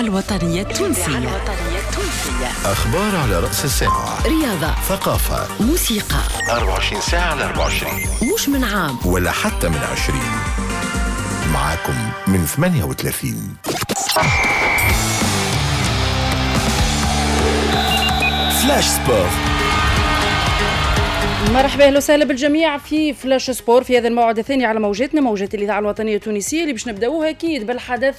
الوطنية التونسية. أخبار على رأس الساعة، رياضة، ثقافة، موسيقى، 24 ساعة على 24، مش من عام ولا حتى من 20. معاكم من 38. Flash Sport. مرحبا، اهلا وسهلا بالجميع في Flash Sport في هذا الموعد الثاني على موجاتنا، موجات الاذاعة الوطنية التونسية، اللي باش نبداوها اكيد بالحدث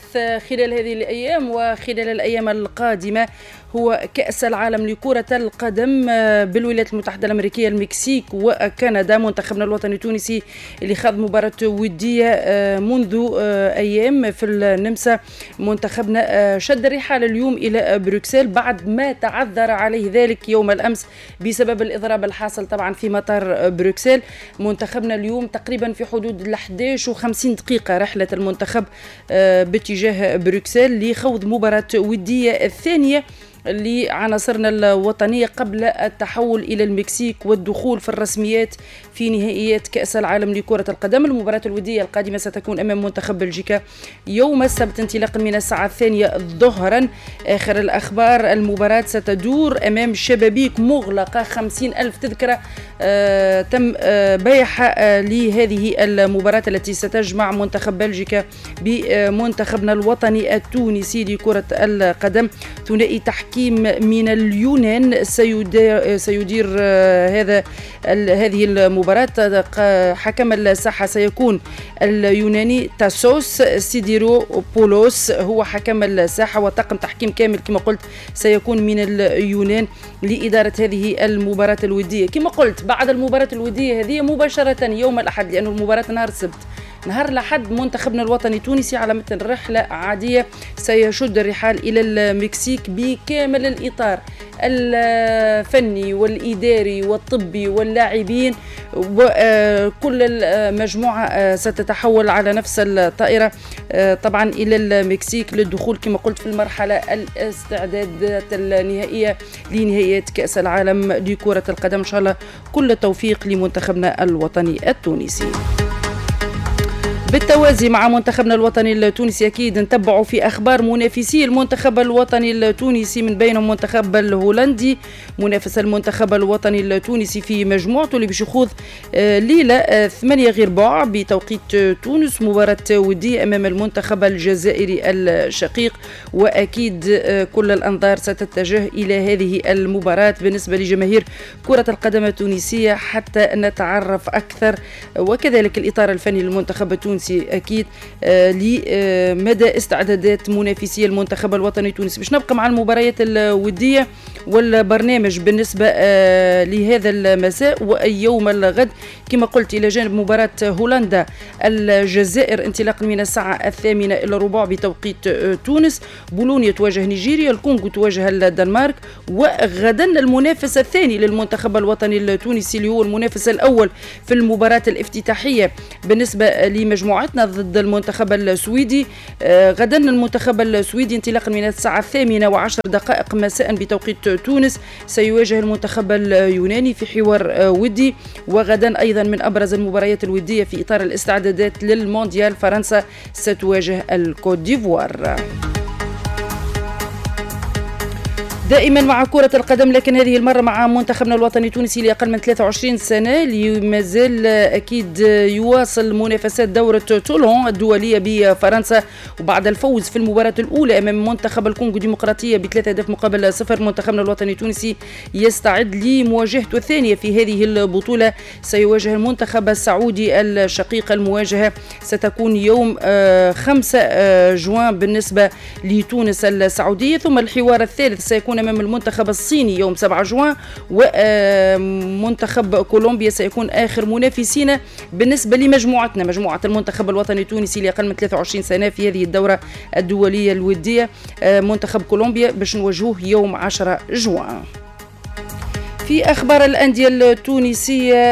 خلال هذه الايام وخلال الايام القادمة، هو كأس العالم لكرة القدم بالولايات المتحدة الأمريكية، المكسيك وكندا. منتخبنا الوطني التونسي اللي خاض مباراة ودية منذ أيام في النمسا، منتخبنا شد الرحال اليوم إلى بروكسل بعد ما تعذر عليه ذلك يوم الأمس بسبب الإضراب الحاصل طبعا في مطار بروكسل. منتخبنا اليوم تقريبا في حدود 11:50 رحلة المنتخب باتجاه بروكسل لخوض مباراة ودية الثانية لعناصرنا الوطنية قبل التحول إلى المكسيك والدخول في الرسميات في نهائيات كأس العالم لكرة القدم. المباراة الودية القادمة ستكون أمام منتخب بلجيكا يوم السبت انطلاقا من الساعة 2 ظهرا. آخر الأخبار، المباراة ستدور أمام شبابيك مغلقة، 50,000 تذكرة تم بيعها لهذه المباراة التي ستجمع منتخب بلجيكا بمنتخبنا الوطني التونسي لكرة القدم. ثنائي تحكيم من اليونان سيدير هذه المباراة. حكم الساحة سيكون اليوناني تاسوس سيديرو بولوس، هو حكم الساحة، وطاقم تحكيم كامل كما قلت سيكون من اليونان لإدارة هذه المباراة الودية. كما قلت بعد المباراة الودية هذه مباشرة يوم الأحد، لأن المباراة نهار السبت، نهار الأحد منتخبنا الوطني التونسي على متن رحلة عادية سيشد الرحال إلى المكسيك بكامل الإطار الفني والإداري والطبي واللاعبين، وكل المجموعة ستتحول على نفس الطائرة طبعا إلى المكسيك للدخول كما قلت في المرحلة الاستعدادات النهائية لنهائيات كأس العالم لكرة القدم. إن شاء الله كل التوفيق لمنتخبنا الوطني التونسي. بالتوازي مع منتخبنا الوطني التونسي أكيد نتبعوا في أخبار منافسي المنتخب الوطني التونسي، من بينهم المنتخب الهولندي منافس المنتخب الوطني التونسي في مجموعته اللي باش يخوض ليلة 7:45 بتوقيت تونس مباراة ودية أمام المنتخب الجزائري الشقيق، وأكيد كل الأنظار ستتجه إلى هذه المباراة بالنسبة لجماهير كرة القدم التونسية حتى نتعرف أكثر، وكذلك الإطار الفني للمنتخب التونسي أكيد لمدى استعدادات منافسي المنتخب الوطني التونسي. باش نبقى مع المباريات الودية والبرنامج بالنسبة لهذا المساء ويوم الغد كما قلت، إلى جانب مباراة هولندا الجزائر انطلاقا من الساعة 7:45 بتوقيت تونس، بولونيا تواجه نيجيريا، الكونغو تواجه الدنمارك، وغدا المنافس الثاني للمنتخب الوطني التونسي اللي هو المنافس الأول في المباراة الافتتاحية بالنسبة لمجموعتنا ضد المنتخب السويدي. غدا المنتخب السويدي انطلاقا من الساعة 8:10 مساء بتوقيت تونس سيواجه المنتخب اليوناني في حوار ودي. وغدا أيضا من أبرز المباريات الودية في إطار الاستعدادات للمونديال، فرنسا ستواجه الكوت ديفوار. دائما مع كرة القدم، لكن هذه المرة مع منتخبنا الوطني التونسي لأقل من 23 سنة اللي مازال أكيد يواصل منافسات دورة تولون الدولية بفرنسا، وبعد الفوز في المباراة الأولى أمام منتخب الكونغو الديمقراطية ب3 أهداف مقابل 0، منتخبنا الوطني التونسي يستعد لمواجهته الثانية في هذه البطولة. سيواجه المنتخب السعودي الشقيق، المواجهة ستكون يوم 5 جوان بالنسبة لتونس السعودية، ثم الحوار الثالث سيكون أمام المنتخب الصيني يوم 7 جوان، ومنتخب كولومبيا سيكون آخر منافسينا بالنسبة لمجموعتنا، مجموعة المنتخب الوطني التونسي لأقل من 23 سنة في هذه الدورة الدولية الودية. منتخب كولومبيا باش نواجهوه يوم 10 جوان. في أخبار الأندية التونسية،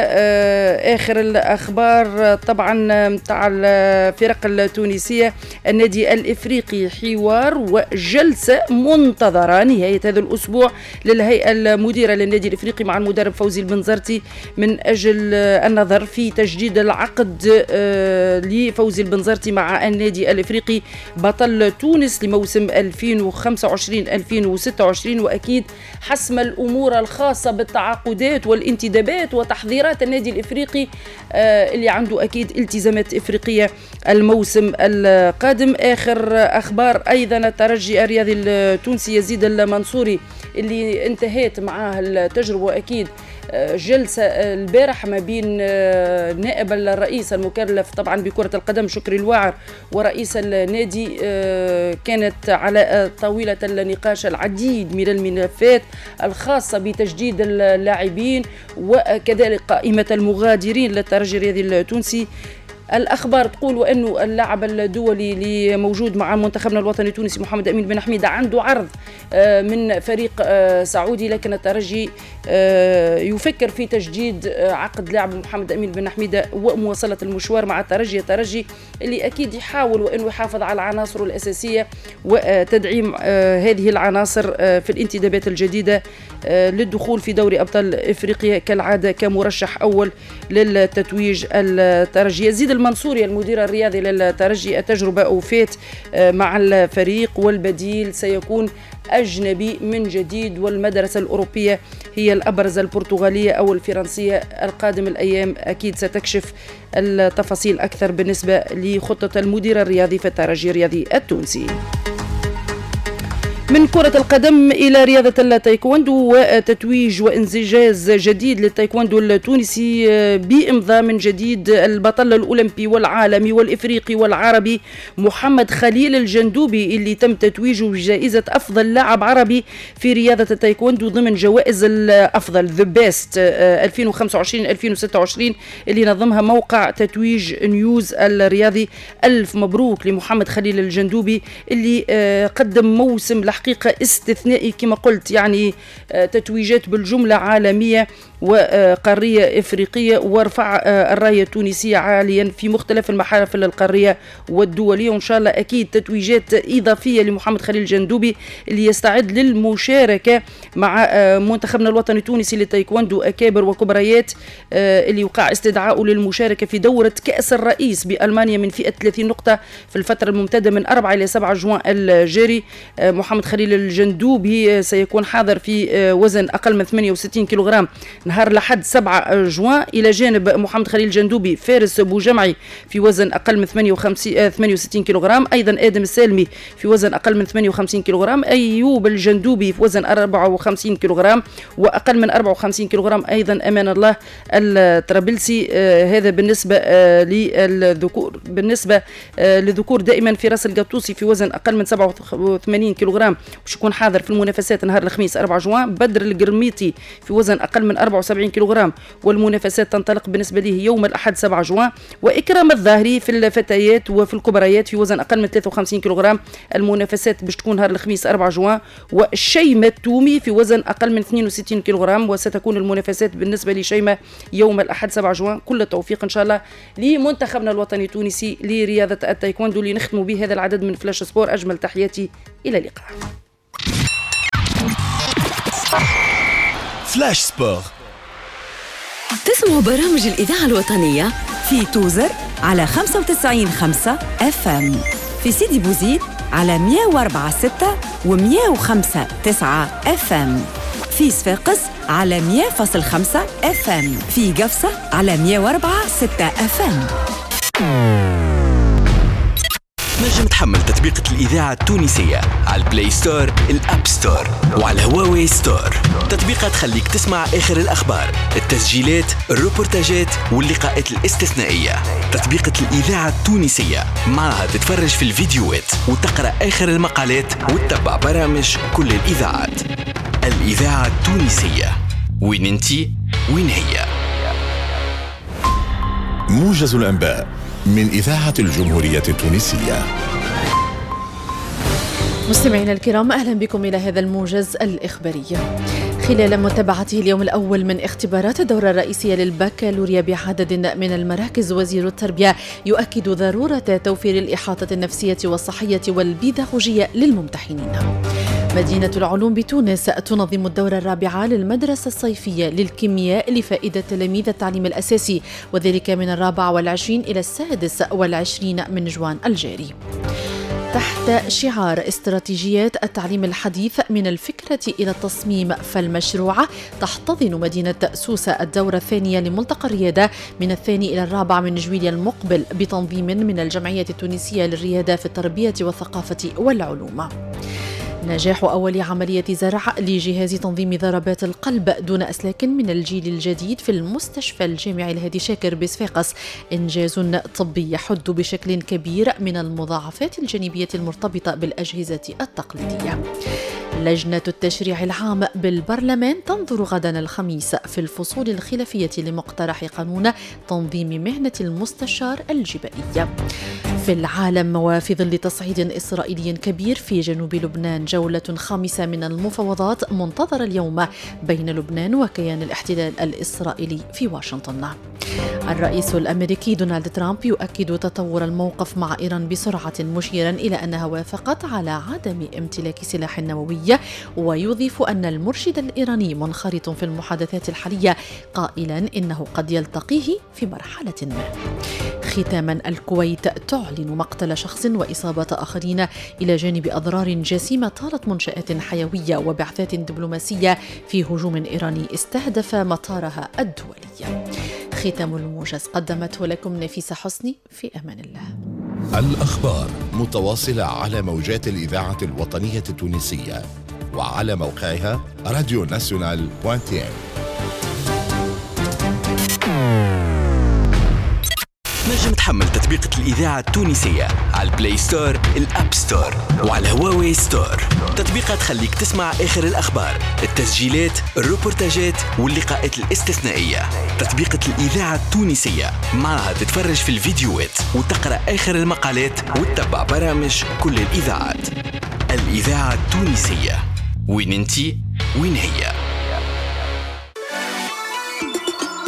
آخر الأخبار طبعا متاع الفرق التونسية، النادي الإفريقي حوار وجلسة منتظرة نهاية هذا الأسبوع للهيئة المديرة للنادي الإفريقي مع المدرب فوزي البنزرتي من أجل النظر في تجديد العقد لفوزي البنزرتي مع النادي الإفريقي بطل تونس لموسم 2025-2026، وأكيد حسم الأمور الخاصة بالتعاقدات والانتدابات وتحضيرات النادي الإفريقي اللي عنده أكيد التزامات إفريقية الموسم القادم. آخر أخبار أيضا الترجي الرياضي التونسي يزيد المنصوري اللي انتهت معاه التجربة أكيد جلسة البارح ما بين نائب الرئيس المكلف طبعا بكرة القدم شكري الواعر ورئيس النادي، كانت على طاولة النقاش العديد من الملفات الخاصة بتجديد اللاعبين وكذلك قائمة المغادرين للترجي الرياضي التونسي. الأخبار تقول وأنه اللاعب الدولي اللي موجود مع منتخبنا الوطني التونسي محمد أمين بن حميدة عنده عرض من فريق سعودي، لكن الترجي يفكر في تجديد عقد لاعب محمد أمين بن حميدة ومواصلة المشوار مع الترجي. الترجي اللي أكيد يحاول وأنه يحافظ على عناصره الأساسية وتدعيم هذه العناصر في الانتدابات الجديدة للدخول في دوري أبطال إفريقيا كالعادة كمرشح أول للتتويج الترجي. يزيد المنصوري المدير الرياضي للترجي التجربة أوفات مع الفريق والبديل سيكون أجنبي من جديد، والمدرسة الأوروبية هي الأبرز البرتغالية أو الفرنسية. القادم الأيام أكيد ستكشف التفاصيل أكثر بالنسبة لخطة المدير الرياضي في الترجي الرياضي التونسي. من كرة القدم إلى رياضة التايكوندو وتتويج وانجاز جديد للتايكوندو التونسي بإمضاء من جديد البطل الأولمبي والعالمي والإفريقي والعربي محمد خليل الجندوبي اللي تم تتويجه بجائزة أفضل لاعب عربي في رياضة التايكوندو ضمن جوائز الأفضل The Best 2025-2026 اللي نظمها موقع تتويج نيوز الرياضي. ألف مبروك لمحمد خليل الجندوبي اللي قدم موسم حقيقة استثنائي كما قلت، يعني تتويجات بالجملة عالمية وقارية إفريقية، ورفع الراية التونسية عاليا في مختلف المحافل القارية والدولية، وإن شاء الله أكيد تتويجات إضافية لمحمد خليل الجندوبي اللي يستعد للمشاركة مع منتخبنا الوطني التونسي للتايكوندو أكابر وكبريات اللي وقع استدعاؤه للمشاركة في دورة كأس الرئيس بألمانيا من فئة 30 نقطة في الفترة الممتدة من 4 إلى 7 جوان الجاري. محمد خليل الجندوبي سيكون حاضر في وزن أقل من 68 كيلوغرام نهار لحد 7 جوان، إلى جانب محمد خليل الجندوبي فارس بوجمعي في وزن أقل من 68 كيلوغرام، أيضا آدم السالمي في وزن أقل من 58 كيلوغرام، أيوب الجندوبي في وزن 54 كيلوغرام وأقل من 54 كيلوغرام أيضا أمان الله الطرابلسي. هذا بالنسبة للذكور. بالنسبة للذكور دائما فراس القطوسي في وزن أقل من 87 كيلوغرام باش يكون حاضر في المنافسات نهار الخميس 4 جوان، بدر القرميطي في وزن أقل من 74 كيلوغرام والمنافسات تنطلق بالنسبة له يوم الأحد 7 جوان، وإكرام الظاهري في الفتيات وفي الكبريات في وزن أقل من 53 كيلوغرام المنافسات باش تكون نهار الخميس 4 جوان، وشيمة التومي في وزن أقل من 62 كيلوغرام وستكون المنافسات بالنسبة لشيمة يوم الأحد 7 جوان. كل التوفيق إن شاء الله لمنتخبنا الوطني التونسي لرياضة التايكوندو اللي نختم به هذا العدد من فلاش سبور. أجمل تحياتي، إلى اللقاء. Flash Sport. تسمعوا برامج الإذاعة الوطنية في توزر على 95.5 FM، في سيدي بوزيد على 104.6 و105.9 FM، في صفاقس على 100.5 FM، في قفصة على 104.6 FM. تنجم تحمل تطبيقة الإذاعة التونسية على ال Play Store، ال App Store وعلى هواوي Store. تطبيقة تخليك تسمع آخر الأخبار، التسجيلات، الروبورتاجات واللقاءات الاستثنائية. تطبيقة الإذاعة التونسية معها تتفرج في الفيديوهات وتقرأ آخر المقالات وتتبع برامج كل الإذاعات. الإذاعة التونسية، وين انتي وين هي. موجز الأنباء من إذاعة الجمهورية التونسية. مستمعينا الكرام، أهلا بكم إلى هذا الموجز الإخباري. خلال متابعته اليوم الأول من اختبارات الدورة الرئيسية للبكالوريا بعدد من المراكز، وزير التربية يؤكد ضرورة توفير الإحاطة النفسية والصحية والبيداغوجية للممتحنين. مدينة العلوم بتونس تنظم الدورة الرابعة للمدرسة الصيفية للكيمياء لفائدة تلاميذ التعليم الأساسي، وذلك من 24 إلى 26 من جوان الجاري. تحت شعار استراتيجيات التعليم الحديث من الفكرة إلى التصميم فالمشروع، تحتضن مدينة سوسة الدورة الثانية لملتقى الريادة من 2 إلى 4 من جويلية المقبل بتنظيم من الجمعية التونسية للريادة في التربية والثقافة والعلوم. نجاح أول عملية زرع لجهاز تنظيم ضربات القلب دون أسلاك من الجيل الجديد في المستشفى الجامعي الهادي شاكر بصفاقس إنجاز طبي يحد بشكل كبير من المضاعفات الجانبية المرتبطة بالأجهزة التقليدية. لجنة التشريع العام بالبرلمان تنظر غدا الخميس في الفصول الخلافية لمقترح قانون تنظيم مهنة المستشار الجبائية. في العالم، وفي ظل تصعيد إسرائيلي كبير في جنوب لبنان، جولة خامسة من المفاوضات منتظرة اليوم بين لبنان وكيان الاحتلال الإسرائيلي في واشنطن. الرئيس الأمريكي دونالد ترامب يؤكد تطور الموقف مع إيران بسرعة، مشيرا إلى أنها وافقت على عدم امتلاك سلاح نووي، ويضيف أن المرشد الإيراني منخرط في المحادثات الحالية، قائلا إنه قد يلتقيه في مرحلة ما. ختاما، الكويت تعلن مقتل شخص وإصابة آخرين إلى جانب أضرار جسيمة طالت منشآت حيوية وبعثات دبلوماسية في هجوم إيراني استهدف مطارها الدولي. ختام الموجز قدمته لكم نفيسة حسني، في أمان الله. الأخبار متواصلة على موجات الإذاعة الوطنية التونسية وعلى موقعها راديو ناسيونال .tn. تنجم تحمل تطبيقة الإذاعة التونسية على ال Play Store، ال App Store وعلى هواوي Store. تطبيقة تخليك تسمع آخر الأخبار، التسجيلات، الروبورتاجات واللقاءات الاستثنائية. تطبيقة الإذاعة التونسية معها تتفرج في الفيديوهات وتقرأ آخر المقالات وتتبع برامج كل الإذاعات. الإذاعة التونسية، وين انتي وين هي.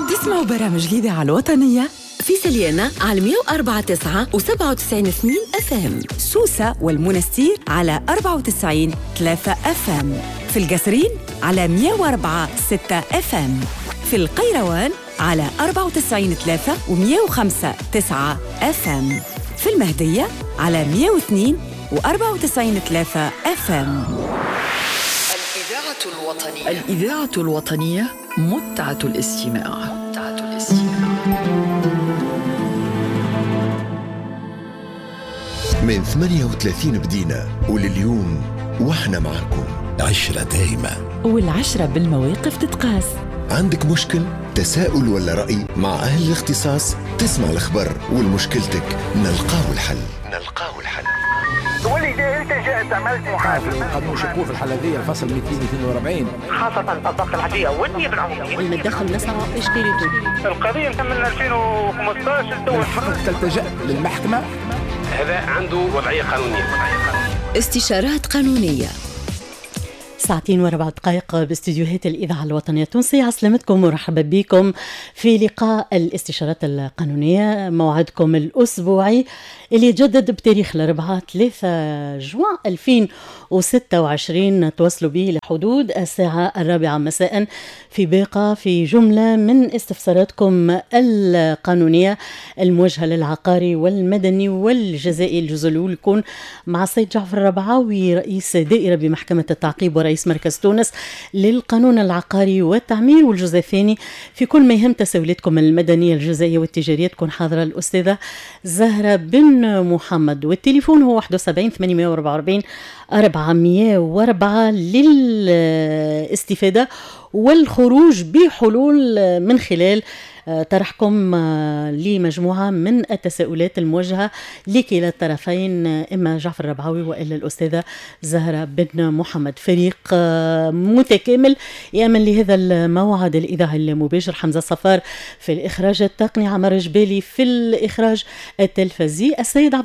تسمعوا برامج الإذاعة الوطنية في سليانة على 104.9 و97.2 FM، سوسة والمنستير على 94.3 FM، في القصرين على 104.6 FM، في القيروان على 94.3 و105.9 FM، في المهدية على 102 و94.3 FM. الإذاعة الوطنية، الإذاعة الوطنية، متعة الاستماع. متعة الاستماع. من 38 بدينا ولليوم واحنا معكم عشرة دايمة، والعشرة بالمواقف تتقاس. عندك مشكل، تساؤل ولا رأي، مع أهل الاختصاص تسمع الخبر والمشكلتك نلقاو الحل. نلقاو الحل. ولذا التجأت عملت محاسبة. قانون شكوه في الحالة ذي الفصل 242 خاصة الضغط العادية والنيابة العمومية. المدخل نسعى إشكاليته. القضية من 2015 من حقك تلتجأ للمحكمة. هذا عنده وضعية قانونية. استشارات قانونية. 2:04 باستديوهات الإذاعة الوطنية التونسية. عسلامتكم ومرحبا بكم في لقاء الاستشارات القانونية، موعدكم الأسبوعي اللي يتجدد بتاريخ الأربعاء 3 جوان 2026، تواصلوا به لحدود الساعة 4 مساء في باقة في جملة من استفساراتكم القانونية الموجهة للعقاري والمدني والجزائي. الجزء الأول يكون مع السيد جعفر الربعاوي رئيس دائرة بمحكمة التعقيب ورئيس مركز تونس للقانون العقاري والتعمير، والجزء الثاني في كل ما يهم تساؤلاتكم المدنية الجزائية والتجارية تكون حاضرة الأستاذة زهرة بن محمد، والتليفون هو 71 844 404 للاستفادة والخروج بحلول من خلال طرحكم لمجموعة من التساؤلات الموجهة لكلا الطرفين، إما جعفر الربعاوي وإلا الأستاذة زهرة بن محمد. فريق متكامل يأمن لهذا الموعد الإذاعي المباشر: حمزة صفار في الإخراج التقني، عمر جبالي في الإخراج التلفزي، السيد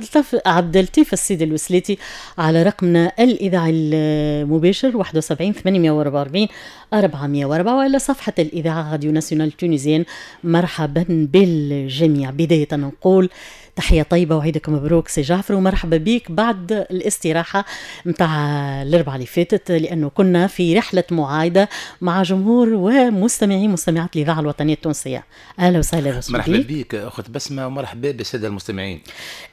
عبد اللطيف السيد الوسليتي على رقمنا الإذاعي المباشر 71 844 404 وإلى صفحة الإذاعة Radio Nationale Tunisienne. مرحبا بالجميع. بداية نقول تحية طيبة وعيدك مبروك سي جعفر، ومرحبا بك بعد الاستراحة متاع الأربعة اللي فاتت، لأنه كنا في رحلة معايدة مع جمهور ومستمعي مستمعات الإذاعة الوطنية التونسية. أهلا وسهلا بك. مرحبا بك أخت بسمة، ومرحبا بالسادة المستمعين.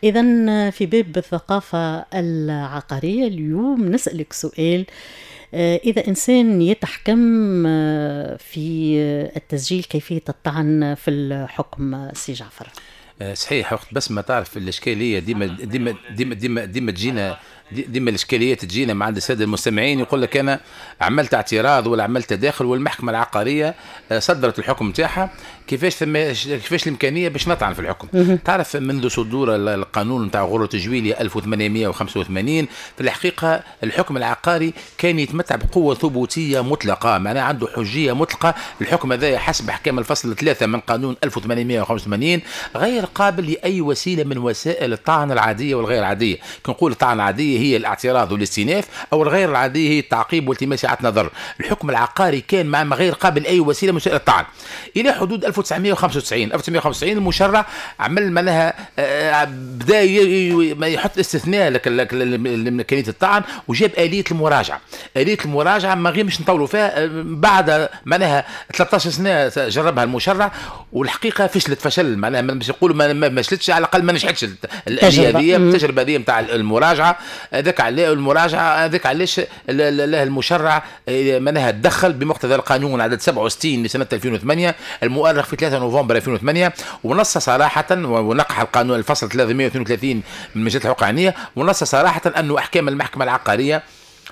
إذا في باب الثقافة العقارية اليوم نسألك سؤال: إذا إنسان يتحكم في التسجيل، كيفية الطعن في الحكم سي جعفر؟ صحيح أخت بسمة، تعرف الإشكالية ديما ديما ديما ديما ديما تجينا، ديما الإشكاليات تجينا مع عند السادة المستمعين، يقول لك أنا عملت اعتراض ولا عملت تداخل والمحكمة العقارية صدرت الحكم نتاعها، كيفاش الإمكانية باش نطعن في الحكم؟ تعرف منذ صدور القانون نتاع غرة جويلية 1885 في الحقيقة الحكم العقاري كان يتمتع بقوة ثبوتية مطلقة، معناها عنده حجية مطلقة. الحكم هذا حسب أحكام الفصل 3 من قانون 1885 غير قابل لأي وسيلة من وسائل الطعن العادية والغير عادية. كنقول الطعن العادية هي الاعتراض والاستئناف، أو الغير العادية هي التعقيب والتماس إعادة نظر. الحكم العقاري كان مع غير قابل أي وسيلة من وسائل الطعن إلى حدود 1995 المشرع عمل معناها بدا يحط استثناء لك لإمكانية الطعن، وجاب آلية المراجعة. آلية المراجعة ما غير مش نطولوا فيها، بعد معناها 13 سنة جربها المشرع والحقيقة فشلت فشل، معناها باش يقولوا ما فشلتش، على الأقل ما نجحتش الآلية هذه، التجربة هذه نتاع المراجعة. هذاك علاه المراجعة، هذاك علاش المشرع معناها تدخل بمقتضى القانون عدد 67 لسنة 2008 المؤرخ في 3 نوفمبر 2008، ونص صراحة ونقح القانون الفصل 332 من مجلة الحقوق العينية، ونص صراحة أنه أحكام المحكمة العقارية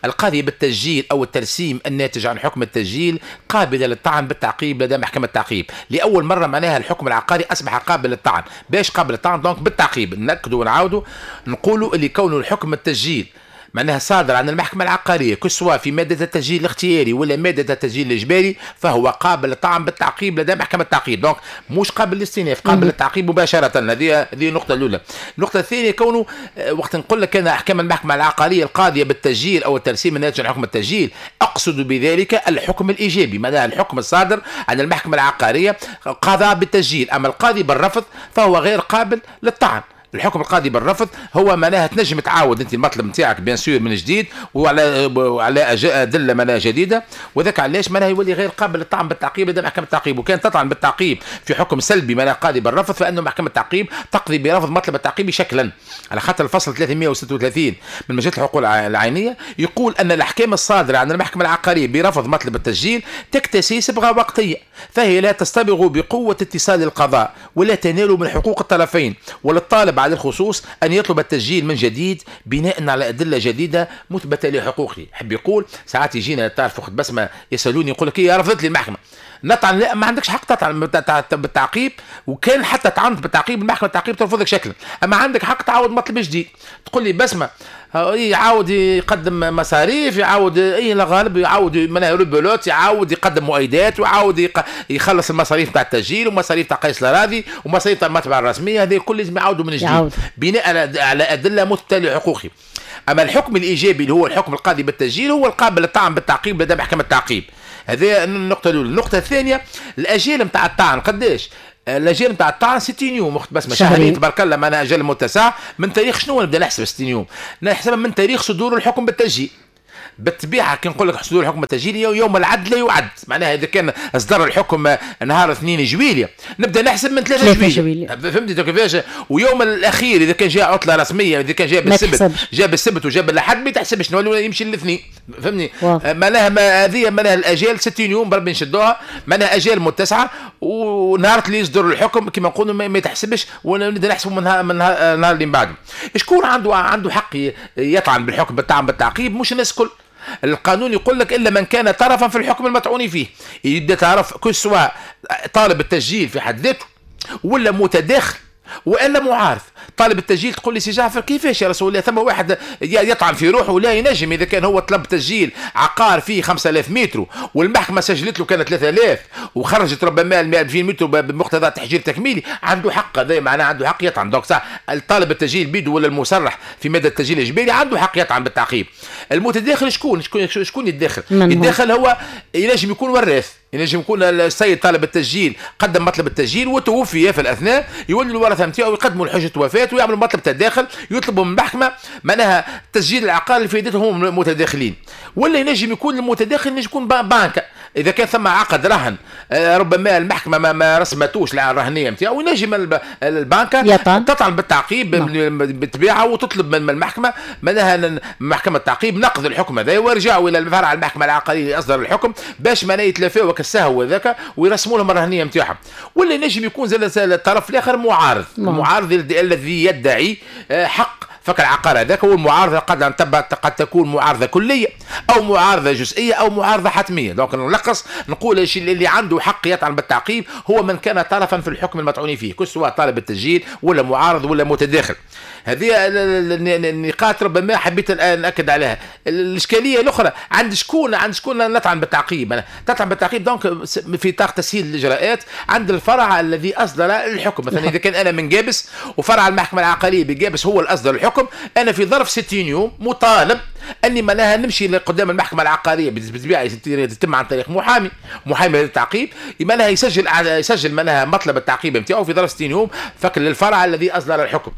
القاضية بالتسجيل أو الترسيم الناتج عن حكم التسجيل قابلة للطعن بالتعقيب لدى محكمة التعقيب. لأول مرة معناها الحكم العقاري أصبح قابل للطعن. باش قابل للطعن؟ donc بالتعقيب. نأكدوا ونعاودوا نقولوا اللي كونه الحكم التسجيل معناها صادر عن المحكمة العقارية que ce soit في مادة التسجيل الاختياري ولا مادة التسجيل الإجباري فهو قابل للطعن بالتعقيب لدى محكمة التعقيب. donc مش قابل للاستئناف، قابل للتعقيب مباشرة. هذه النقطة الأولى. النقطة الثانية كونه وقت نقول لك أنا أحكام المحكمة العقارية القاضية بالتسجيل أو الترسيم الناتج عن حكم التسجيل، أقصد بذلك الحكم الإيجابي، معناها الحكم الصادر عن المحكمة العقارية قضاء بالتسجيل. أما القاضي بالرفض فهو غير قابل للطعن. الحكم القاضي بالرفض هو معناها تنجم تعاود انت المطلب نتاعك bien sûr من جديد وعلى ادلة معناها جديدة، وذاك علاش معناها يولي غير قابل للطعن بالتعقيب لدى محكمة التعقيب. وكان تطعن بالتعقيب في حكم سلبي معناها قاضي بالرفض، فانه محكمة التعقيب تقضي برفض مطلب التعقيب شكلا. على خاطر الفصل 336 من مجلة الحقوق العينية يقول ان الاحكام الصادرة عن المحكمة العقارية برفض مطلب التسجيل تكتسي صبغة وقتية، فهي لا تستبغ بقوة اتصال القضاء ولا تنال من حقوق الطرفين، وللطالب على الخصوص أن يطلب التسجيل من جديد بناء على أدلة جديدة مثبتة لحقوقه. حب يقول ساعات يجينا تعرف أخت بسمة يسألوني يقول لك إيه رفضت لي المحكمة نطعن، لا ما عندكش حق تطعن بالتعقيب، وكان حتى طعنت بالتعقيب المحكمة التعقيب ترفضك شكلا، أما عندك حق تعاود مطلب جديد. تقول لي بسمة يعاود يقدم مصاريف، يعاود اي لا غالب، يعاود معناها rebelote، يعاود يقدم مؤيدات، ويعاود يخلص المصاريف تاع التسجيل ومصاريف تاع قيس الاراضي ومصاريف تاع المطبعة الرسمية، هذه الكل لازم يعاودوا من جديد بناء على ادلة مثبتة لحقوقي. اما الحكم الايجابي اللي هو الحكم القاضي بالتسجيل هو القابل للطعن بالتعقيب لدى محكمة التعقيب. هذه النقطة الاولى. النقطة الثانية الاجال نتاع الطعن قداش؟ الاجال نتاع الطعن 60 يوم اخت بسمه، شهرين تبارك الله، معناها اجل متسع. من تاريخ شنو نبدا نحسب 60 يوم؟ نحسبها من تاريخ صدور الحكم بالتسجيل. بالطبيعة كي نقول لك صدور الحكم بالتسجيل يوم العد لا يعد، معناها اذا كان اصدر الحكم نهار 2 جويلية نبدا نحسب من 3 جويلية، فهمتي كيفاش؟ ويوم الاخير اذا كان جاء عطله رسمية، اذا كان جاء بالسبت، جاء بالسبت وجاء بالاحد ما تحسبش، نولي يمشي الاثنين، فهمني؟ معناها هذه معناها الاجال 60 يوم بربي نشدوها، معناها اجال متسعه، ونهار اللي يصدر الحكم كما نقولوا ما تحسبش، ونبدا نحسبوا من النهار اللي من بعده. شكون عنده حق يطعن بالحكم بالطعن بالتعقيب؟ مش الناس الكل. القانون يقول لك الا من كان طرفا في الحكم المطعون فيه، يبدا تعرف que ce soit طالب التسجيل في حد ذاته ولا متداخل والا معارض. طالب التسجيل تقول لي سي جعفر كيفاش يا رسول الله ثم واحد يطعن في روحه؟ لا ينجم. اذا كان هو طلب تسجيل عقار فيه 5000 متر والمحكمة سجلت له كانت 3000 وخرجت ربما 2000 متر بمقتضى تحجير تكميلي، عنده حق، هذا معناه عنده حق يطعن. donc صح الطالب التسجيل بيده ولا المصرح في مادة التسجيل الاجباري عنده حق يطعن بالتعقيب. المتداخل شكون شكون يتداخل؟ يتداخل هو ينجم يكون وراث، ينجم يكون السيد طالب التسجيل قدم مطلب التسجيل وتوفي في الاثناء، يولي الورثة نتاعو يقدموا الحجة وفاه ويعملوا مطلب تداخل، يطلبوا من المحكمة معناها تسجيل العقار اللي فائدتهم هم متداخلين. ولا ينجم يكون المتداخل ينجم يكون بنك، اذا كان ثم عقد رهن ربما المحكمة ما رسمتوش الرهنية نتاعو، ينجم البنك تطعن بالتعقيب بالطبيعة وتطلب من المحكمة معناها محكمة التعقيب نقض الحكم هذا ويرجعوا الى الفرع المحكمة العقارية اللي اصدر الحكم باش معناها يتلافاو السهو هذاك ويرسموا لهم الرهنية نتاعهم. ولا ينجم يكون زاد الطرف الاخر معارض، المعارض الذي يدعي حق فك العقار هذاك. والمعارضة قد تكون معارضة كليه او معارضة جزئية او معارضة حتمية. donc نلخص نقول اللي عنده حق يطعن بالتعقيب هو من كان طرفا في الحكم المطعون فيه، que ce soit طالب التسجيل ولا معارض ولا متداخل. هذه النقاط ربما حبيت الان ناكد عليها. الاشكالية الاخرى عند شكون نطعن بالتعقيب؟ تطعن بالتعقيب donc في اطار تسهيل الاجراءات عند الفرع الذي اصدر الحكم. مثلا اذا كان انا من جابس وفرع المحكمة العقارية بجابس هو اللي اصدر الحكم، انا في ظرف 60 يوم مطالب اني معناها نمشي قدام المحكمة العقارية، بالطبيعة تتم عن طريق محامي للتعقيب، معناها يسجل معناها مطلب التعقيب نتاعو في ظرف 60 يوم فك للفرع الذي اصدر الحكم.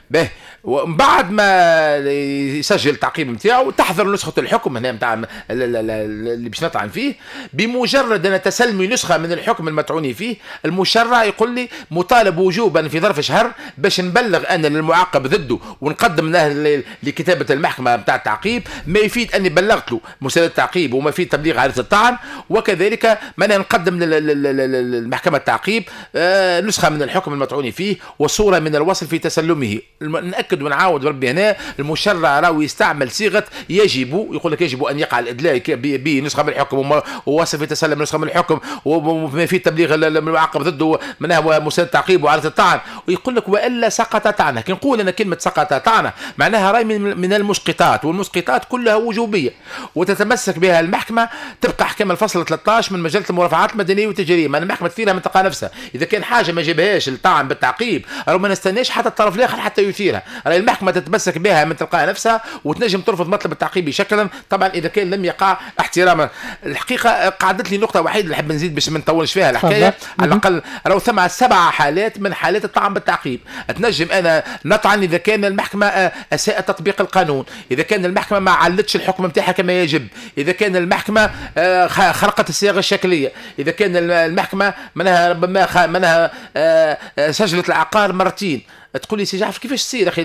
به ومن بعد ما يسجل التعقيب نتاعو تحضر نسخه الحكم هنا نتاع اللي باش نطعن فيه. بمجرد ان تسلمي نسخه من الحكم المطعون فيه، المشرع يقول لي مطالب وجوبا في ظرف شهر باش نبلغ انا للمعاقب ضده ونقدم له لكتابه المحكمة نتاع التعقيب ما يفيد اني بلغت له مسألة التعقيب وما يفيد تبليغ عارضه الطعن، وكذلك ما نقدم للمحكمة التعقيب نسخه من الحكم المطعون فيه وصوره من الوصل في تسلمه. نأكد ونعاود ربي هنا المشرع راهو يستعمل صيغة يجب، يقول لك يجب ان يقع الادلاء بنسخه من الحكم ووصف يتسلم نسخه من الحكم وما في تبليغ المعاقب ضده منها مسند التعقيب وعارضه الطعن، ويقول لك والا سقط طعنه. كي نقول انا كلمة سقط طعنه معناها راي من المسقطات، والمسقطات كلها وجوبيه وتتمسك بها المحكمة. تبقى احكام الفصل 13 من مجلة المرافعات المدنية والتجاريه، ما المحكمة تثيرها من تلقى نفسها. اذا كان حاجة ما جابهاش الطعن بالتعقيب راهو ما نستناش حتى الطرف الاخر حتى يثيرها، راهي المحكمة تتمسك بها من تلقاء نفسها وتنجم ترفض مطلب التعقيب شكلا، طبعا اذا كان لم يقع احتراما. الحقيقة قعدت لي نقطة وحيده اللي نحب نزيد باش ما نطولش فيها الحكاية، على الاقل راهو ثم 7 حالات من حالات الطعن بالتعقيب. تنجم انا نطعن اذا كان المحكمة اساءت تطبيق القانون، اذا كان المحكمة ما علتش الحكم نتاعها كما يجب، اذا كان المحكمة خرقت الصيغة الشكليه، اذا كان المحكمة منها ربما منها سجلت العقار مرتين. تقول لي سي جعفر كيفاش تصير اخي؟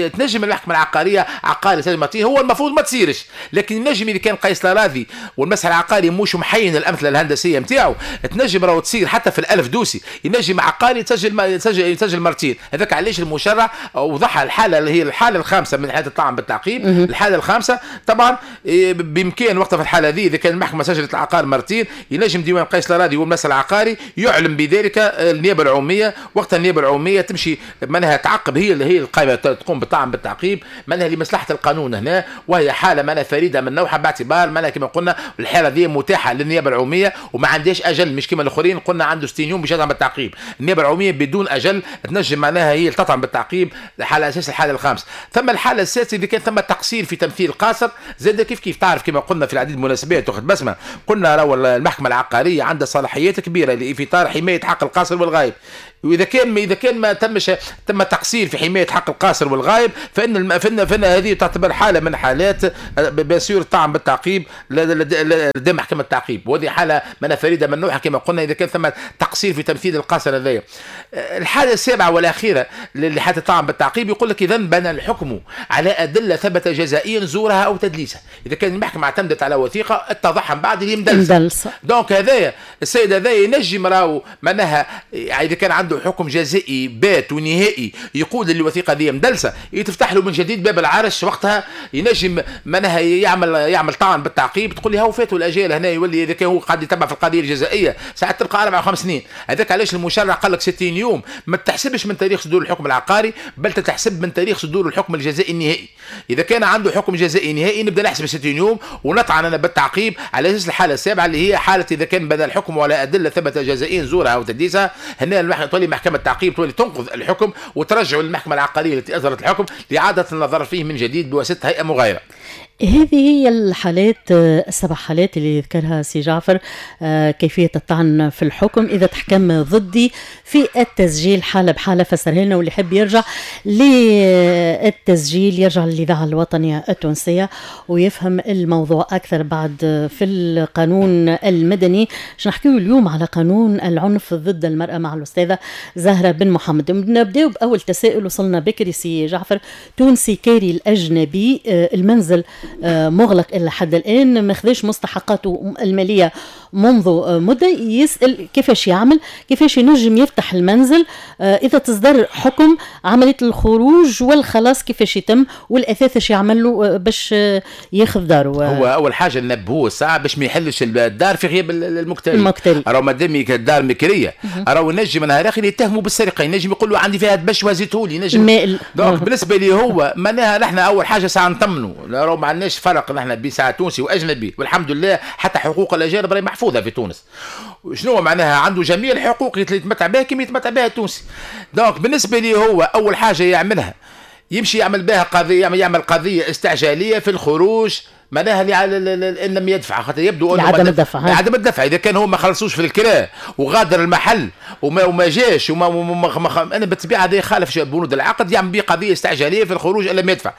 تنجم المحكمة العقارية عقاري سجل مرتين، هو المفروض ما تصيرش، لكن النجم اذا كان قيس الاراضي والمسح العقاري مش محين الامثلة الهندسية نتاعو، تنجم راهو تصير حتى في الالف دوسي، ينجم عقاري يسجل مرتين. هذاك علاش المشرع وضحها الحالة اللي هي الحالة الخامسة من حاله الطعن بالتعقيب. الحالة الخامسة طبعا بامكان وقتها في الحالة هذه اذا كان المحكمة سجلت العقار مرتين ينجم ديوان قيس الاراضي والمسح العقاري يعلم بذلك النيابة العمومية، وقتها النيابة العمومية تمشي معناها تعقب، هي اللي هي القائمة تقوم بالطعن بالتعقيب معناها لمصلحة القانون هنا، وهي حاله معناها فريدة من نوعها باعتبار معناها كما قلنا الحالة دي متاحة للنيابه العمومية وما عندهاش اجل، مش كما الاخرين قلنا عنده 60 يوم باش يطعن بالتعقيب. النيابة العمومية بدون اجل تنجم معناها هي تطعن بالتعقيب على اساس الحالة الخامسة. ثم الحالة السادسة اذا كان ثم تقصير في تمثيل قاصر زاد كيف كيف تعرف كما قلنا في العديد من المناسبات اخت بسمه، قلنا راهو المحكمة العقارية عندها صلاحيات كبيرة في اطار حماية حق القاصر والغايب، واذا كان ما تمش تم تقصير في حماية حق القاصر والغايب فان هذه تعتبر حاله من حالات bien sûr الطعن بالتعقيب لدى محكمة التعقيب، وهذه حاله من فريدة من نوعها كما قلنا اذا كان ثم تقصير في تمثيل القاصر هذايا. الحالة السابعة والاخيرة لحاله الطعن بالتعقيب يقول لك اذا بنى الحكم على ادلة ثبت جزائيا زورها او تدليسها، اذا كان المحكمة اعتمدت على وثيقة اتضح من بعد اللي مدلسه. donc هذايا السيد هذايا ينجم راهو معناها اذا كان عنده عنده حكم جزائي بات ونهائي يقول الوثيقة دي مدلسه، يتفتح له من جديد باب العرش، وقتها ينجم معناها يعمل طعن بالتعقيب، تقول لي هاو فاتوا الاجال هنا، يولي اذا كان هو قاعد يتبع في القضية الجزائيه ساعات تبقى 4 أو 5 سنين. هذاك علاش المشرع قال لك 60 يوم ما تحسبش من تاريخ صدور الحكم العقاري، بل تتحسب من تاريخ صدور الحكم الجزائي النهائي. اذا كان عنده حكم جزائي نهائي نبدا نحسب 60 يوم ونطعن انا بالتعقيب على اساس الحالة السابعة اللي هي حاله اذا كان بدا الحكم ولا ادلة ثبت جزائيا زورها او تدليسها، هنا تولي محكمة التعقيب تولي تنقض الحكم وترجعه للمحكمة العقارية التي اصدرت الحكم لاعادة النظر فيه من جديد بواسطة هيئة مغايرة. هذه هي الحالات السبع حالات اللي ذكرها سي جعفر، كيفية الطعن في الحكم إذا تحكم ضدي في التسجيل حالة بحالة، فسرها لنا، واللي يحب يرجع للتسجيل يرجع للإذاعة الوطنية التونسية ويفهم الموضوع أكثر. بعد في القانون المدني باش نحكيو اليوم على قانون العنف ضد المرأة مع الأستاذة زهرة بن محمد. نبداو بأول تساؤل وصلنا بكري سي جعفر، تونسي كاري الأجنبي، المنزل مغلق إلى حد الآن، ما خذاش مستحقاته المالية منذ مدة، يسأل كيفاش يعمل، كيفاش ينجم يفتح المنزل، إذا تصدر حكم عملية الخروج والخلاص كيفاش يتم، والأثاث ايش يعمل له باش ياخذ داره. هو أول حاجة نبهوه الساعة باش ما يحلش الدار في غياب المكتري، راهو مادام الدار مكرية راهو ينجم نهار آخر يتهموا بالسرقة، ينجم يقول له عندي فيها دبش وزيتولي، ينجم. donc بالنسبة لي هو معناها نحن أول حاجة ساعة نطمنوا، راهو ما عندناش فرق نحن بين ساعة تونسي وأجنبي، والحمد لله حتى حقوق الأجانب راهي محفوظة في تونس. شنو معناها؟ عنده جميع الحقوق اللي يتمتع بها كما يتمتع بها التونسي. donc بالنسبة لي هو أول حاجة يعملها يمشي يعمل بها قضية، يعمل قضية استعجالية في الخروج معناها ان لم يدفع، خاطر يبدو انه عدم الدفع، عدم الدفع اذا كان هو ما خلصوش في الكراء وغادر المحل وما جاش وما انا بالطبيعة هذا يخالف بنود العقد، يعمل به قضية استعجاليه في الخروج ان لم يدفع.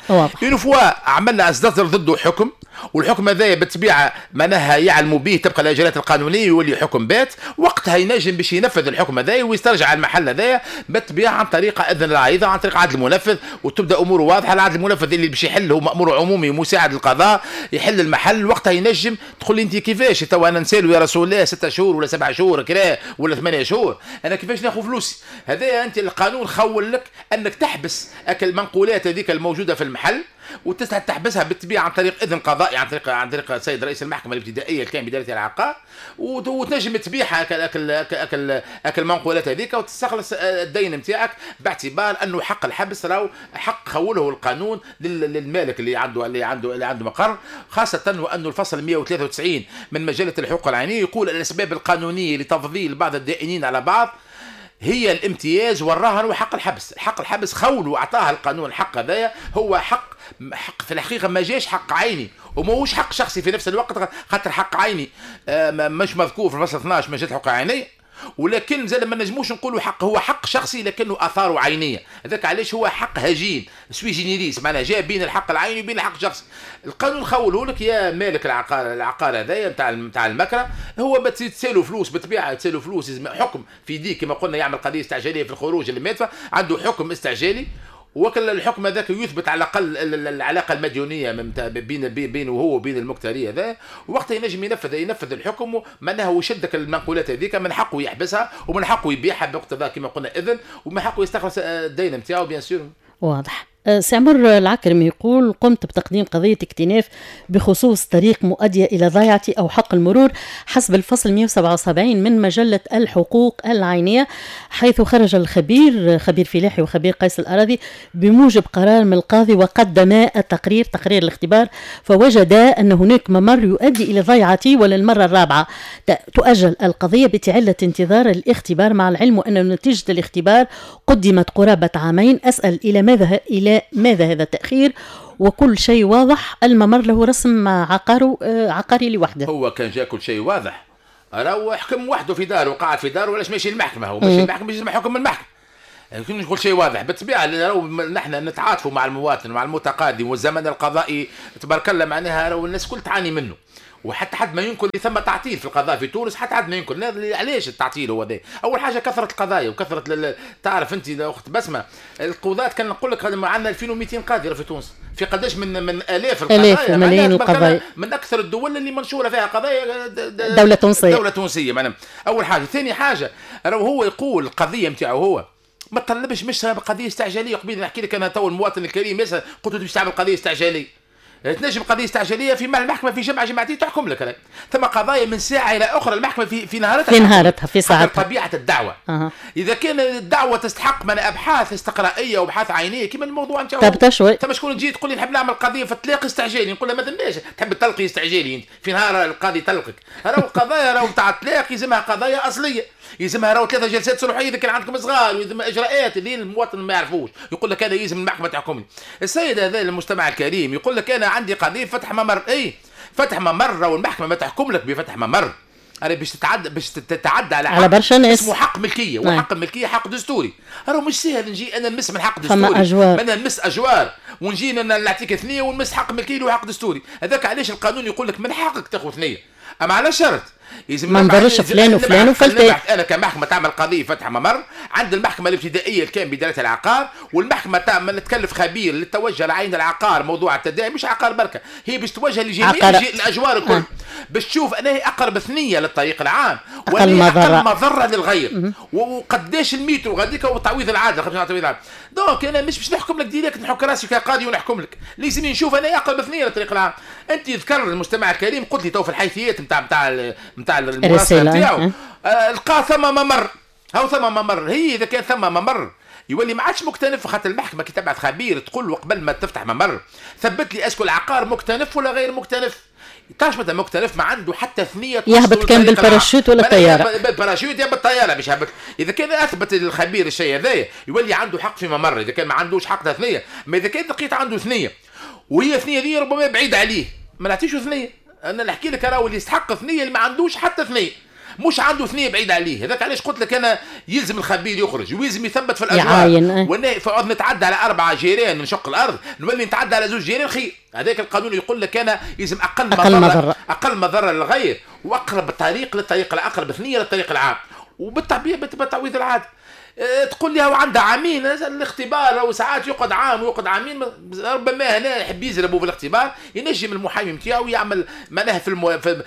une fois عملنا اصدر ضده حكم، والحكم هذايا بالطبيعة معناها يعلموا به تبقى الاجراءات القانونية يولي حكم بات، وقتها ينجم باش ينفذ الحكم هذايا ويسترجع المحل هذايا بالطبيعة عن طريق اذن العريضة، عن طريق عدل المنفذ، وتبدا اموره واضحة. العدل المنفذ اللي باش يحل هو مامور عمومي مساعد القضاء يحل المحل، وقتها ينجم تقول لي انت كيفاش تو انا نسالو يا رسول الله 6 شهور ولا 7 شهور كرا ولا 8 شهور، انا كيفاش ناخذ فلوسي؟ هذا انت القانون خول لك انك تحبس اكل المنقولات هذيك الموجودة في المحل وتحبسها بالطبيعة عن طريق اذن قضائي، عن طريق السيد رئيس المحكمة الابتدائية اللي كان بداية العقار، وتنجم تبيعها اكل المنقولات هذيك وتستخلص الدين نتاعك، باعتبار انه حق الحبس راهو حق خوله القانون للمالك اللي عنده مقر، خاصة وانه الفصل 193 من مجلة الحقوق العينية يقول الاسباب القانونية لتفضيل بعض الدائنين على بعض هي الامتياز والرهن وحق الحبس. حق الحبس خوله واعطاها القانون الحق هذايا، هو حق في الحقيقة ما جاش حق عيني وماهوش حق شخصي في نفس الوقت، خاطر حق عيني مش مذكور في الفصل 12 مجلة الحقوق العينية، ولكن زاد ما نجموش نقولوا حق، هو حق شخصي لكنه اثاره عينيه، هذاك علاش هو حق هجين sui generis، معناها جاء بين الحق العيني وبين الحق الشخصي. القانون خوله لك يا مالك العقار هذايا نتاع المكره، هو تسالو فلوس بالطبيعة، تسالو فلوس حكم في يديك كما قلنا، يعمل قضية استعجاليه في الخروج اللي ما يدفع، عنده حكم استعجالي، وكل الحكم هذاك يثبت على الاقل العلاقة المديونيه بينه وهو وبين المكتري هذا، وقتها ينجم ينفذ الحكم، معناها هو يشدك المنقولات هذيك، من حقه يحبسها ومن حقه يبيعها باقتضاء كما قلنا اذن، ومن حقه يستخلص الدين نتاعو bien sûr. واضح. سي عمر العكرمي يقول قمت بتقديم قضية اكتناف بخصوص طريق مؤدية إلى ضيعتي أو حق المرور حسب الفصل 177 من مجلة الحقوق العينية، حيث خرج الخبير خبير فلاحي وخبير قيس الأراضي بموجب قرار من القاضي وقدما التقرير تقرير الاختبار، فوجدا أن هناك ممر يؤدي إلى ضيعتي، وللمرة الرابعة تؤجل القضية بتعلة انتظار الاختبار، مع العلم أن نتيجة الاختبار قدمت قرابة عامين. أسأل إلى ماذا هذا التأخير؟ وكل شيء واضح، الممر له رسم عقاري لوحده. هو كان جاء كل شيء واضح راهو حكم وحده في داره وقعد في داره، ولاش ماشي للمحكمة؟ هو ماشي للمحكمة باش يسمع حكم المحكمة. يعني كل شيء واضح بالطبيعة، راهو نحن نتعاطفوا مع المواطن ومع المتقاضي، والزمن القضائي تبارك الله معناها راهو الناس كل تعاني منه. وحتى حد ما ينكر اللي ثم تعطيل في القضاء في تونس، حتى حد ما ينكر. علاش التعطيل هو ذا؟ اول حاجة كثرة القضايا وكثرة تعرف انت اخت بسمه، القضاة كان نقول لك عندنا 2200 قاضي في تونس، في قداش من الاف القضايا، ملايين القضايا، من اكثر الدول اللي منشورة فيها قضايا دولة تونسية، دولة تونسية معناها. اول حاجة، ثاني حاجة راهو هو يقول القضية نتاعو هو ما تطلبش مش قضية استعجاليه. قبيل نحكي لك انا تو المواطن الكريم يسال، قلت له باش تعمل قضية استعجاليه، تنجم قضية استعجاليه في المحكمة في جمعه جمعتين تحكم لك. ثم قضايا من ساعة الى اخرى المحكمة في نهارتها، في نهارتها، في ساعتها. طبيعة الدعوة. اذا كان الدعوة تستحق من ابحاث استقرائيه وابحاث عينيه كما الموضوع نتاعو، ثم شكون تجي تقول لي نحب نعمل قضية في الطلاق استعجالي، نقول لها ما ثماش، تحب تلقي استعجالي انت في نهار القاضي تلقك. راهو القضايا راهو نتاع الطلاق يلزمها قضايا اصلية، يلزمها راهو 3 جلسات صلحيه اذا كان عندكم صغار، ويلزم اجراءات اللي المواطن ما يعرفوش، يقول لك هذا يلزم المحكمة تحكمني. السيد هذا المجتمع الكريم يقول لك انا عندي قضية فتح ممر، اي فتح ممر والمحكمة ما تحكم لك بفتح ممر، انا باش تتعدى على برشا ناس، اسمه حق ملكية، وحق الملكية حق دستوري. راهو مش سهل نجي انا نمس من حق دستوري، انا نمس اجوار ونجي انا نعطيك ثنيه ونمس حق ملكية وحق دستوري. هذاك علاش القانون يقول لك من حقك تاخذ ثنيه، اما على شرط يلزم ما نضرش فلان وفلان وفلتان. انا كمحكمه تعمل قضية فتح ممر عند المحكمة الابتدائية اللي كان بداية العقار، والمحكمة تعمل تكلف خبير للتوجه لعين العقار موضوع التداعي، مش عقار بركة، هي باش توجه لجميع الاجوار الكل، باش تشوف انا هي اقرب ثنيه للطريق العام اقل مضرة للغير، وقداش الميترو غاديك والتعويض العادل، 25 تعويض العادل. donc انا مش باش نحكم لك direct نحك راسي كقاضي ونحكم لك، لازم نشوف انا اقرب ثنيه للطريق العام. انت ذكر المجتمع الكريم قلت لي تو في الحيثيات نتاع المراسله نتاعو لقى ثم ممر، هاو ثم ممر. هي اذا كان ثم ممر يولي ما عادش مكتنف، خاطر المحكمة كي تبعث خبير تقول له قبل ما تفتح ممر ثبت لي est-ce que العقار مكتنف ولا غير مكتنف. تعرف مثلا مكتنف ما عنده حتى ثنيه يهبط كان بالباراشوت ولا الطيارة، بالباراشوت يا بالطيارة باش يهبط. اذا كان اثبت الخبير الشيء هذايا يولي عنده حق في ممر، اذا كان ما عندوش حق ثنيه. ما اذا كان لقيت عنده ثنيه وهي ثنيه دي ربما بعيد عليه، ما نعطيش ثنيه. انا نحكي لك راهو اللي يستحق ثنيه اللي ما عندوش حتى ثنيه، مش عنده ثنيه بعيد عليه. هذاك علاش قلت لك انا يلزم الخبير يخرج ويلزم يثبت في الاجوار، وانا فعوض نتعدى على 4 جيران نشق الارض نولي نتعدى على 2 جيران خير. هذاك القانون يقول لك انا يلزم اقل مضرة للغير، واقرب طريق للطريق الاقرب ثنيه للطريق العام، وبالطبيعه بالتعويض العادل. تقول لي هو عنده عامين الاختبار، او ساعات يقعد عام ويقعد عامين، ربما هنا يحب يزربوا في الاختبار، ينجم المحامي نتاعو يعمل معناها في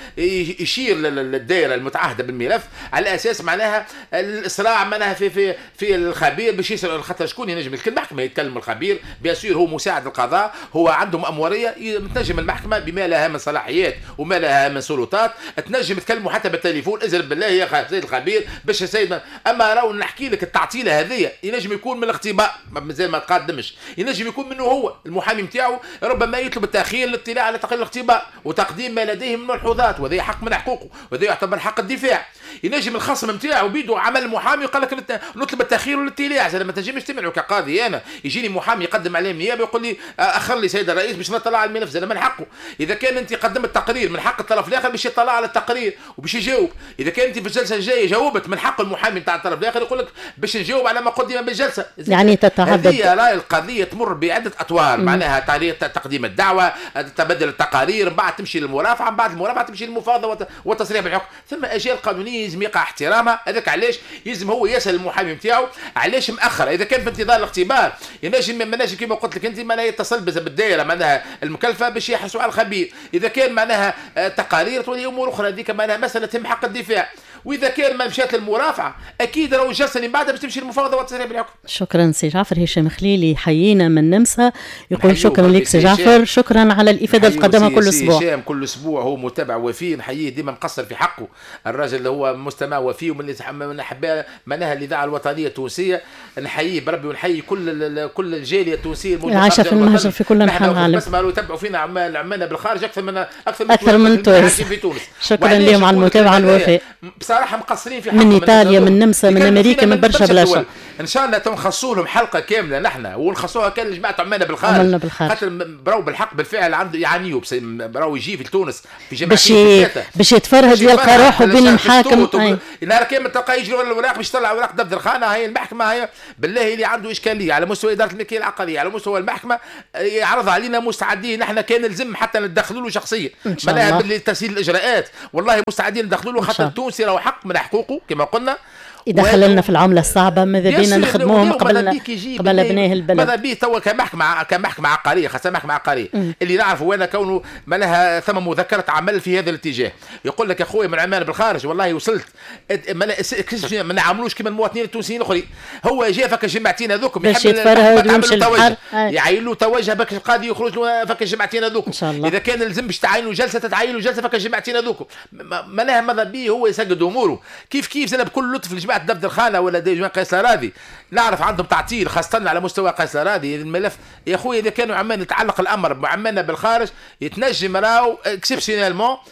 يشير للدائره المتعهده بالملف على اساس معناها الاسراع معناها في في في الخبير باش يسال، خاطر شكون ينجم المحكمة يتكلم الخبير، bien sûr هو مساعد القضاء، هو عنده مأموريه، تنجم المحكمة بما لها من صلاحيات وما لها من سلطات تنجم تكلمه حتى بالتليفون، ازرب بالله يا سيد الخبير باش السيد. اما راهو نحكي لك التعطيله هذه ينجم يكون من الاختباء مازال ما تقدمش، ينجم يكون منه هو المحامي نتاعو ربما يطلب التاخير للاطلاع على تقرير الاختباء وتقديم ما لديه من ملحوظات، وهذا حق من حقوقه وهذا يعتبر حق الدفاع. ينجم الخصم نتاعو بيدو عمل محامي وقال لك نطلب التاخير والاطلاع، زاد ما تنجمش تمنعه كقاضي. انا يجيني محامي يقدم عليه النيابة يقول لي اخر لي سيد الرئيس باش نطلع على الملف، زاد من حقه. اذا كان انت قدمت تقرير من حق الطرف الاخر باش يطلع على التقرير وباش يجاوب. اذا كان انت في الجلسة الجاية جاوبت من حق المحامي نتاع الطرف الاخر يقول لك باش نجاوب على ما قدم بالجلسه. يعني تتعدد هذه راي القضية تمر بعده اطوار، معناها طريقه تقديم الدعوة، تبدل التقارير، من بعد تمشي للمرافعه، من بعد المرافعه تمشي للمفاوضه والتصريح بالحكم، ثم اجيال قانونية يلزم يقع احترامها. هذاك علاش يلزم هو يسال المحامي نتاعو علاش مأخر. اذا كان في انتظار الاختبار ينجم ما كما قلت لك انت معناها يتصل بالدائره معناها المكلفه باش يحرصوا على الخبير. اذا كان معناها تقارير تولي امور اخرى، هذيك معناها مسالة تهم حق الدفاع. واذا كان ما مشات للمرافعه اكيد راهو الجلسة اللي بعدها باش تمشي للمفاوضه والتصريح بالحكم. شكرا سي جعفر. هشام خليلي حيينا من النمسا يقول شكرا لك سي جعفر، شكرا على الافادة اللي تقدمها كل اسبوع. هشام كل اسبوع هو متابع وفي، نحييه ديما مقصر في حقه، الراجل اللي هو مستمع وفي ومن اللي احباء معناها الاذاعة الوطنية التونسية، نحييه بربي ونحيي كل الجالية التونسية الموجودة عايشه في المهجر في كل انحاء العالم. بس ما يتبعوا فينا عمالنا بالخارج اكثر من تونس في تونس. شكرا لهم على المتابعة الوفاء. بصراحة مقصرين في حقهم، من ايطاليا، من النمسا، من امريكا، من برشا بلاصة. ان شاء الله تنخصوا لهم حلقة كاملة نحن، ونخصوها كان لجماعة عمالنا بالخارج، خاطر براو بالحق بالفعل عنده يعانيوا، براو يجي في تونس في جماعتين باش يتفرهد يلقى روحه بين المحاكم. نهار كامل تلقاه يجري ورا الاوراق باش يطلع اوراق دفتر الخانة. هي المحكمة هي بالله اللي عنده اشكالية على مستوى ادارة الملكية العقارية، على مستوى المحكمة، يعرض علينا، مستعدين نحن كان لزم حتى ندخلوا له شخصيا معناها بالتسهيل الاجراءات، والله مستعدين ندخلوا له، خاطر التونسي راهو حق من حقوقه كما قلنا. يدخل لنا في العملة الصعبة، ماذا بينا نخدموهم قبل ابناء البلد. ماذا بيه توا كمحكمه عقارية، خاصة محكمة عقارية اللي نعرفوا انا كونه ما لها ثم مذكره عمل في هذا الاتجاه، يقول لك يا خويا من عمان بالخارج والله وصلت ما نعملوش كما المواطنين التونسيين الاخرين، هو جا فك الجماعتين هذوك باش يتفرهد ويمشي للبحر، يعين له توجه باك القاضي يخرج له فك الجماعتين هذوك. اذا كان لازم باش تعين له جلسه تتعين له جلسه فك الجماعتين هذوك، ما لها ماذا بيه هو يسجد اموره كيف كيف. زاد بكل لطف لجماعة دفتر الخانة ولا جماعة قيس الأراضي، نعرف عندهم تعطيل خاصة على مستوى قيس الأراضي الملف يا خويا. اذا كانوا عمان يتعلق الامر بعمالنا بالخارج يتنجم راهو exceptionnellement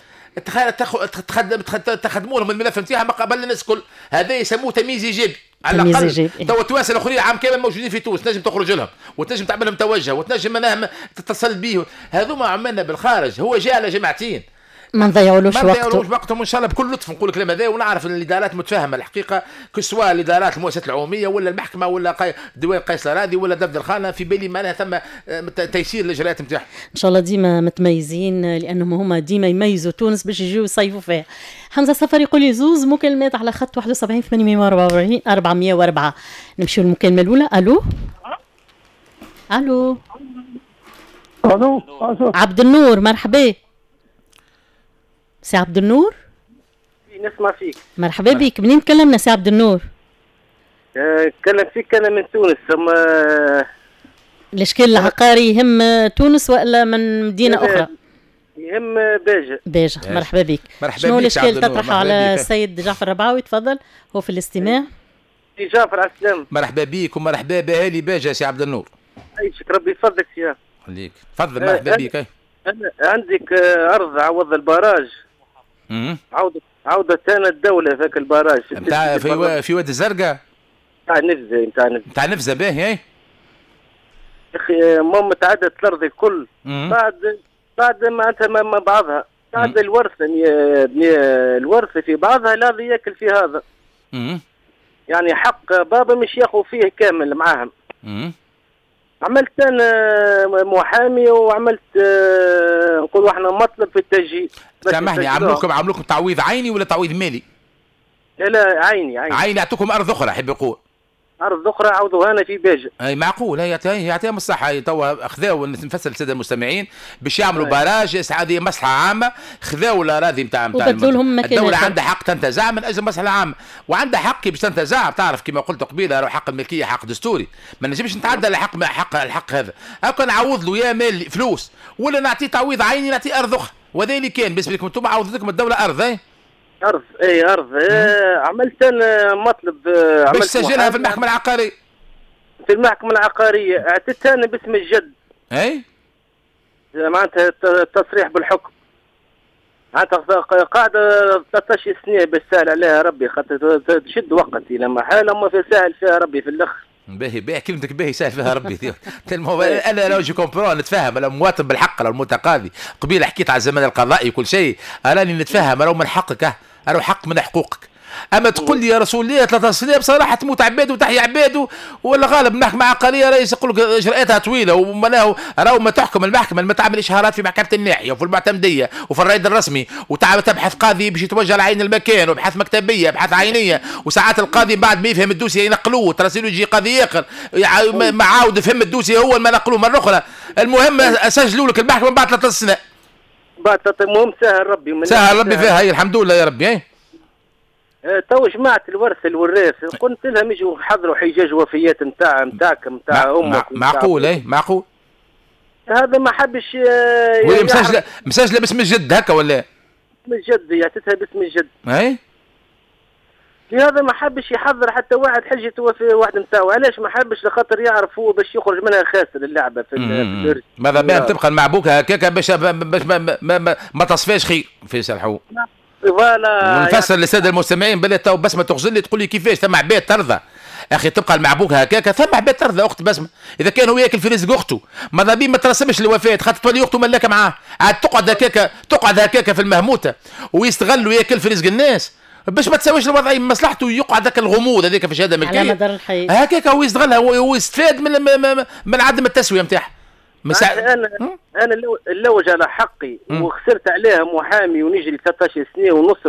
تخدموا لهم الملف نتاعهم قبل الناس الكل، هذا يسموه تمييز ايجابي على الاقل. تو التوانسة الاخرين عام كامل موجودين في تونس، تنجم تخرج لهم وتنجم تعمل لهم توجه وتنجم تتصل بيه. هذوما عمالنا بالخارج هو جاء على جماعتين ما نضيعولوش وقته، وقتهم ان شاء الله بكل لطف نقول الكلام هذا. ونعرف ان الادارات متفاهمه الحقيقة، كسوا الادارات المؤسسات العمومية ولا المحكمة ولا ديوان قيس الأراضي ولا دفتر الخانة، في بالي معناها ثم تيسير الاجراءات نتاعهم. ان شاء الله ديما متميزين، لانهم هما ديما يميزوا تونس باش يجيو يصيفوا فيها. حمزة السفر يقول لي زوز مكالمات على خط 71 844 404. نمشيو للمكالمه الاولى. الو الو الو عبد النور، مرحبا سي عبد النور. نسمع فيك. مرحبا بك، منين تكلمنا سي عبد النور؟ نتكلم فيك انا من تونس. ثم الاشكال العقاري يهم تونس والا من مدينة اخرى؟ يهم باجة. باجة، مرحبا بك. مرحبا. شنو الاشكال تطرحه على السيد جعفر الربعاوي؟ تفضل، هو في الاستماع. سي جعفر على السلامة. مرحبا بك ومرحبا باهالي باجة سي عبد النور. عايشك ربي يفضلك سي. خليك، تفضل. مرحبا بك. عندك ارض عوض ال barrage، عودة ثاني الدولة ذاك ال barrage نتاع في واد الزرقاء، نتاع نفزة، نتاع نفزة باهي. يا اخي المهم تعدت الارض الكل بعد معناتها ما بعضها، بعد الورثة الورثة في بعضها لا ياكل في هذا. يعني حق بابا مش ياخذ فيه كامل معاهم. عملت انا محامي وعملت نقولوا احنا مطلب في التسجيل. سامحني، عملوكم تعويض عيني ولا تعويض مالي؟ لا لا عيني عيني. يعطوكم ارض اخرى، حب يقول ارض اخرى عوضوها لنا في باجة. اي معقول، هي يعطيهم الصحة. توا خذاو، نفسر للسادة المستمعين باش يعملوا barrage، هذه مصلحة عامة، خذاو الاراضي نتاع الدولة عندها حق تنتزع من اجل المصلحة العامة، وعندها حق باش تنتزع. تعرف كما قلت قبيلة حق الملكية حق دستوري، ما نجمش نتعدى لحق حق الحق هذا. هاكا نعوض له يا مال فلوس ولا نعطيه تعويض عيني، نعطيه ارض اخرى. وهذا اللي كان بالنسبة لكم انتم، عوضت لكم الدولة ارض. ارض اي ارض. عملت انا مطلب، باش تسجلها في المحكمة العقارية. في المحكمة العقارية اعطيتها انا باسم الجد. اي معناتها التصريح بالحكم. معناتها قاعدة 13 سنة باش سهل عليها ربي، خاطر تشد وقت الى محال، اما في سهل فيها ربي في الاخر. باهي باهي كلمتك، باهي سهل فيها ربي. انا لو je comprends نتفهم، انا مواطن بالحق، لو المتقاضي قبيلة حكيت على الزمن القضائي وكل شيء، راني نتفهم، راهو من حقك، راهو حق من حقوقك. اما تقول لي يا رسول الله 13 سنة بصراحة تموت عباد وتحيا عباد، ولا غالب المحكمة العقارية رئيس يقول لك اجراءاتها طويلة، ومالها راهو ما تحكم المحكمة، ما تعمل اشهارات في محكمة الناحية وفي المعتمديه وفي الرائد الرسمي، وتبحث قاضي باش يتوجه لعين المكان، وبحث مكتبيه، بحث عينيه، وساعات القاضي بعد ما يفهم ال dossier ينقلوه تراسيلو يجي قاضي اخر ما عاود فهم ال dossier هو ما نقلوه مرة اخرى. المهم سجلوا لك المحكمة بعد 13 سنة. بعد المهم سهل ربي، سهل ربي فيها، هي الحمد لله يا ربي. تو جماعة الورث الوراث قلت لهم يجوا حضروا حجاج وفيات نتاعك نتاع امك. معقول؟ اي معقول. هذا ما حبش. وهي مسجلة باسم الجد هكا ولا؟ باسم الجد، يعطيتها باسم الجد. اي لهذا ما حبش يحضر حتى واحد حجة وفي واحد نتاعو. علاش ما حبش؟ لخاطر يعرف هو باش يخرج منها خاسر اللعبة في الورث. ماذا بها تبقى المعبوكة هكاك باش ما تصفاش خير في سرحو. voilà. ونفسر للسادة المستمعين بلا تو بسمه تغزل لي تقول لي كيفاش ثم عباد ترضى اخي تبقى المعبوكه هكاك. ثم عباد ترضى اخت بسمه، اذا كان هو ياكل في رزق اخته ماذا بيه ما ترسمش الوفاة، خاطر تولي اخته ملاكه معاه، عاد تقعد هكاك، تقعد هكاك في المهموته ويستغل وياكل في رزق الناس باش ما تساويش الوضعية من مصلحته، يقعد ذاك الغموض هذاك في شهادة ملكية على مدار الحياة هكاك هو يستغلها، هو يستفاد من عدم التسوية نتاعها. انا نلوج على حقي وخسرت عليها محامي ونجري 13 سنة ونص.